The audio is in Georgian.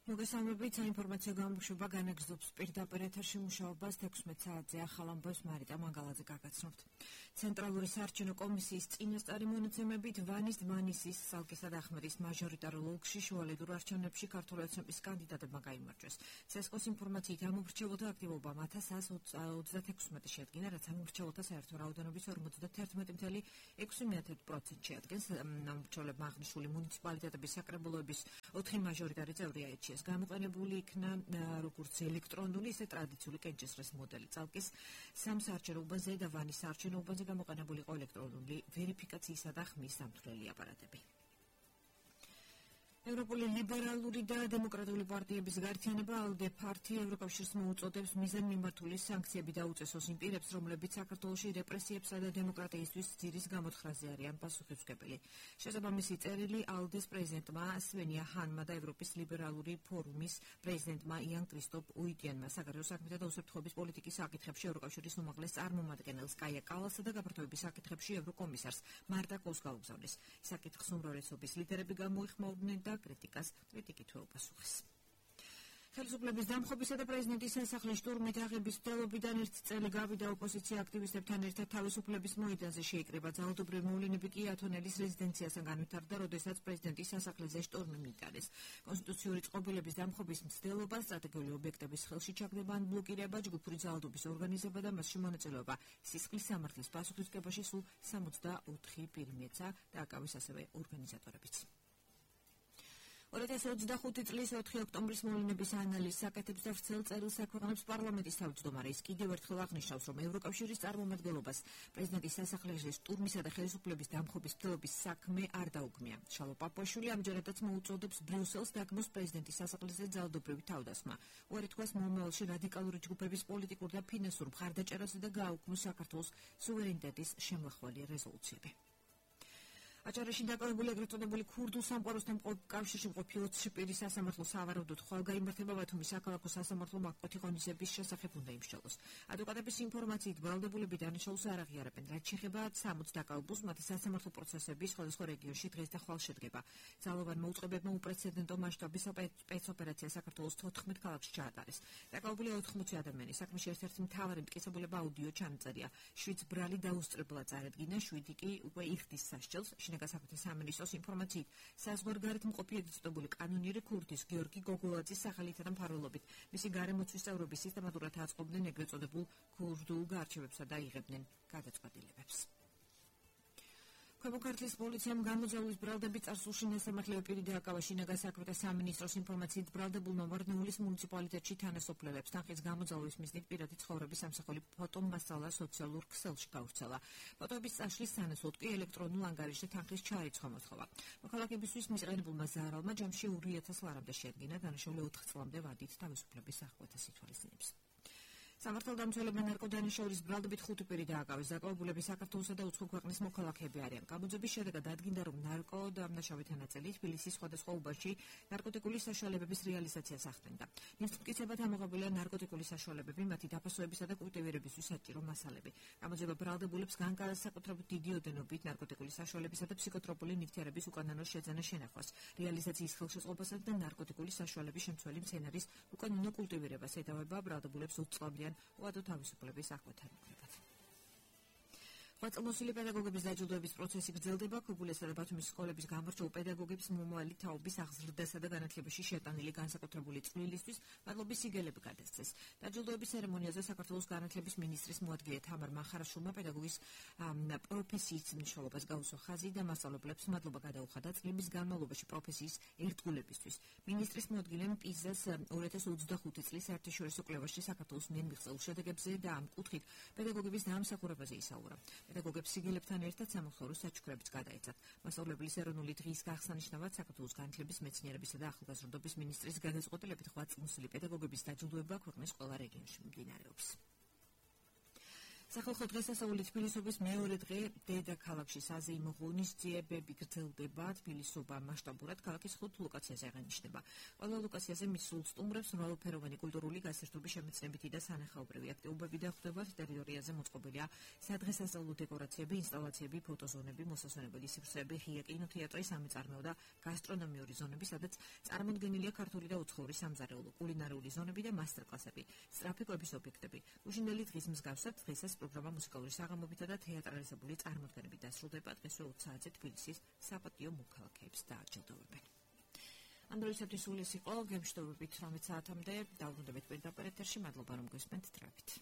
მოგესალმებით, საინფორმაციო გამოშვება განაგრძობს პირდაპირ ეთერში მუშაობას 16 საათზე. ახალ ამბავს მარიტა მანგალაძე გაგაცნობთ. ცენტრალური საარჩევნო კომისიის წინასწარი მონაცემებით ვანის დმანისის, სალკისა და ახმედის მაჟორიტარულ ოლქში შუალედურ არჩევნებში ქართული ოცნების კანდიდატებმა გაიმარჯვეს. ცესკოს ინფორმაციით ამომრჩეველთა აქტივობა 1136 შეადგინა, რაც ამომრჩეველთა საერთო რაოდენობის 51,6% შეადგენს. ამომრჩეველებმა აღნიშნული მუნიციპალიტეტების საკრებულოების 4 მაჟორიტარი წევრი აირჩიეს. გამოყენებული იქნა როგორც ელექტრონული, ისე ტრადიციული კენჭისყრის მოდელი. წალკის სამ საარჩევნო უბანზე და ვანის საარჩევნო უბანზე გამოყენებული იყო ელექტრონული ვერიფიკაციისა და ხმის სამთვრელი აპარატები. ევროპული ლიბერალური და დემოკრატიული პარტიების გაერთიანება ALDE პარტია ევროკავშირს მოუწოდებს მიზანმიმართული სანქციები დაუწესოს იმ პირებს, რომლებიც საქართველოში რეპრესიებსა და დემოკრატიისთვის ძირის გამოთხრაზე არიან პასუხისმგებელი. შესაბამისი წერილი ALDE-ს პრეზიდენტმა სვენია ჰანმა და ევროპის ლიბერალური ფორუმის პრეზიდენტმა იან კრისტოპ უიტიანმა საგარეო საქმეთა და უსაფრთხოების პოლიტიკის საკითხებში ევროკავშირის უმაღლეს წარმომადგენელს კაია კალასსა და გაფართოების საკითხებში ევროკომისარს მარტა კოს გაუგზავნეს. საკითხს უმრავლესობის ლიდერები გამოიხმაურდნენ და კრიტიკით უპასუხეს. ხელისუფლების დამხობისა და პრეზიდენტის სასახლის შტურმით აღების მცდელობიდან ერთი წელი გავიდა ოპოზიცია აქტივისტებთან ერთად თავისუფლების მოედანზე შეიკრიბა. ძალადობრივი მოვლენები კი ათონელის რეზიდენციასთან განვითარდა, როდესაც პრეზიდენტის სასახლეზე შტურმი მიიტანეს. კონსტიტუციური წყობილების დამხობის მცდელობა, სტრატეგიული ობიექტების ხელში ჩაგდება ან ბლოკირება, ჯგუფური ძალადობის ორგანიზება და მასში მონაწილეობა სისხლის სამართლის პასუხისმგებაში სულ 64 პირი მიეცა და აკავის ასევე ორგანიზატორებიც. 2025 წლის 4 ოქტომბრის მოვლენების ანალიზს აკეთებს და ვრცელ წერილს აქვეყნებს პარლამენტის თავმჯდომარე. ის კიდევ ერთხელ აღნიშნავს, რომ ევროკავშირის წარმომადგენლობას პრეზიდენტის სასახლეზე შტურმისა და ხელისუფლების დამხობის მცდელობის საქმე არ დაუგმია. შალო პაპუაშვილი ამჯერადაც მოუწოდებს ბრიუსელს დაგმოს პრეზიდენტის სასახლეზე ძალადობრივი თავდასხმა. უარი თქვას მომავალში რადიკალური ჯგუფების პოლიტიკურ და ფინანსურ მხარდაჭერასა და გააუქმოს საქართველოს სუვერენიტეტის შემლახველი რეზოლუციები. აჭარაში დაკავებული ეგრეთ წოდებული ქურდულ სამყაროსთან კავშირში მყოფი 20 პირის სასამართლო სავარაუდოდ ხვალგაიმართება ბათუმის საქალაქო სასამართლო მაკოთი ღონისძიების შესახებ უნდა იმსჯელოს. ადვოკატების ინფორმაციით ბრალდებულები დანაშაულს არ აღიარებენ, რაც შეეხება 60 დაკავებულს, მათი სასამართლო პროცესები სხვადასხვა რეგიონში დღეს და ხვალ შედგება. ძალოვან მოუწყებებმა უპრეცედენტო მასშტაბის სპეცოპერაცია საქართველოს 14 ქალაქში ჩაატარეს. დაკავებული 80 ადამიანი. საქმეში ერთ-ერთი მთავარი მტკიცებულება აუდიო ჩანაწერია. 7 ბრალი დაუსწრებლად წარედგინა, 7 კი უკვე იხდის სასჯელს. შინაგან საქმეთა სამინისტროს ინფორმაციით, საზღვარგარეთ მყოფი ეგრეთწოდებული კანონიერი ქურდის გიორგი გოგოლაძის სახელითა და მფარველობით მისი გარემოცვის წევრები სისტემატურად აწყობდნენ ეგრეთ წოდებულ ქურდულ გარჩევებსა და იღებდნენ გადაწყვეტილებებს. ქვემო ქართლის პოლიციამ გამოძალვის ბრალდები წარსულში ნასამართლელი პირი დააკავა. შინაგან საქმეთა სამინისტროს ინფორმაციით, ბრალდებულმა ვარდნეულის მუნიციპალიტეტში თანასოფლელებს თანხის გამოძალვის მიზნით პირადი ცხოვრების სამსახური ფოტომასალა სოციალურ ქსელში გავრცელა. ფოტოების წაშლის სანაცვლოდ კი ელექტრონულ ანგარიშზე თანხის ჩარიცხვა მოთხოვა. მოქალაქეებისთვის მისყენებულმა ზარალმა ჯამში 2,000 ლარამდე შეადგინა, დანაშაული 4 წლამდე ვადით თავისუფლების აღკვეთას ითვალისწინებს. სამართალდამცველებმა ნარკოდანაშაულის ბრალდებით 5 პირი დააკავეს. დაკავებულები საქართველოსა და უცხო ქვეყნის მოქალაქეები არიან. გამოძების შედეგად ადგინდა, რომ ნარკოდანაშაულითა ნაწილი თბილისის სხვადასხვა უბანში ნარკოტიკული საშუალებების რეალიზაციას ახდენდა. მისწრაფად ამოღებულია ნარკოტიკული საშუალებები, მათი დაფასოებისა და კულტივირებისთვის საჭირო მასალები. გამოძება ბრალდებულებს განსაკუთრებით დიდი ოდენობით ნარკოტიკული საშუალებისა და ფსიქოტროპული ნივთიერების უკანონო შეძენა შენახვას, რეალიზაციის ხელშეწყობასა და ნარკოტიკული საშუალების შემცველი მცენარის უკანონო კულტივირებას ედავება ბრალდებულებს 20 წლამდე უადო თავისუფლების აღკვეთთან მოკლებად. ღვაწლმოსილი პედაგოგების დაჯილდოების პროცესი გრძელდება. ქობულისა და ბათუმის სკოლების გამორჩეულ პედაგოგებს მომავალი თაობის აღზრდასა და განათლებაში შეტანილი განსაკუთრებული წვლილისთვის მადლობის სიგელები გადასცეს. დაჯილდოების ცერემონიაზე საქართველოს განათლების მინისტრის მოადგილე თამარ მახარაშვილმა პედაგოგის პროფესიის მნიშვნელობას გაუსვა ხაზი და მასწავლებლებს მადლობა გადაუხადა წლების განმავლობაში პროფესიის ერთგულებისთვის. მინისტრის მოადგილემ პიზას 2025 წლის საერთაშორისო კვლევაში საქართველოს მიერ მიღწეულ შედეგებზე და ამ კუთხით პედაგოგების დამსახურებაზე ისაუბრა. პედაგოგებს სიგელებთან ერთად სამხსოვრო საჩუქრებიც გადაეცათ. მასწავლებლის ეროვნული დღის აღსანიშნავად საქართველოს განათლების, მეცნიერებისა და ახალგაზრდობის მინისტრის გადაწყვეტილებით ღვაწლმოსილი პედაგოგების დაჯილდოება ქვეყნის ყველა რეგიონში მიმდინარეობს. სახალხო დღესასწაული თბილისობის მეორე დღე დედაქალაქში საზეიმო ღონისძიებები გრძელდება. თბილისობა მასშტაბურად ქალაქის 5 ლოკაციაზე აღინიშნება. ყველა ლოკაციაზე მის სულ სტუმრებს მრავალფეროვანი კულტურული გასართობი შემეცნებითი და სანახაობრივი აქტივობები დახვდება. ტერიტორიაზე მოწყობილია სადღესასწაულო დეკორაციები, ინსტალაციები, ფოტოზონები, მოსასვენებელი სივრცეები, ღია კინოთეატრი, სამეწარმეო და გასტრონომიური ზონები, სადაც წარმოდგენილია ქართული და უცხოური სამზარეულო, კულინარიული ზონები და მასტერკლასები, სწრაფი კვების ობიექტები. უშინდელი დღის მსგავსად დღესაც პროგრამა მუსიკალური საღამოებითა და თეატრალიზებული წარმოდგენებით დასრულდება. დღესვე 20 საათზე თბილისის საპატიო მოქალაქეებს დააჯილდოვებენ. ამ დროისათვის სულ ეს იყო, გემშვიდობებით 18 საათამდე. დავბრუნდებით პირდაპირ ეთერში. მადლობა რომ გვესმენთ. თრევით.